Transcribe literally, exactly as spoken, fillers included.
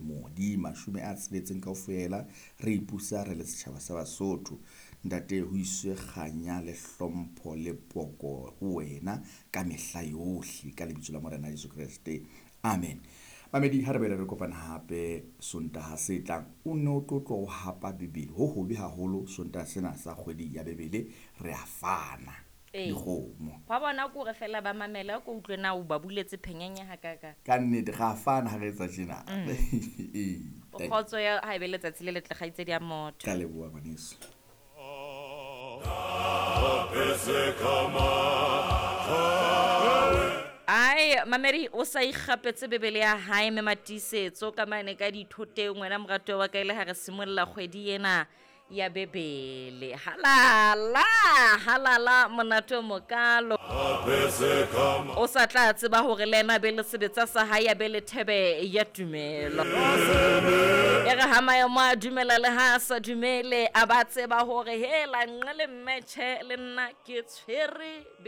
dilemo di mashome a tsheletseng kaofela re ipusa re le setjhaba sa Basotho. Ntate, ho iswe kganya le hlompho le poko ho wena ka mehla yohle, ka lebitso la Morena Jesu Kreste, amen. Mamedi, ha re bele re kopana hape Sontaha se tlang, o ne o tlo tlo o hapa Bibele ho hobe haholo. Sontaha sena sa kgwedi ya Bebele re a fana Ee. dikgomo. Hwa bona ke hore fela ba mamela ko utlwe na o ba buletse phenyenya ha kaka. Ka nnete ga a fana ha re etsa tjena. Ee, kgotso ya ha ebe letsatsi le letle, kgaitsedi ya motho. Ka leboha, ngwaneso. Ai, mamedi o sa ikgapetse Bebele ya hae mme Matiisetso ka mane ka dithoteng. Wena morato wa ka, ile ha re simolla kgwedi ena ya Bebele. Halala halala, monate o mokalo. O sa tla tseba hore le ena be le sebetsa sa hae ya be le thebe ya tumelo. E re ha maemo a dumela le ha a sa dumele, a ba tseba hore hela nqe le mmetjhe le nna ke tshwere.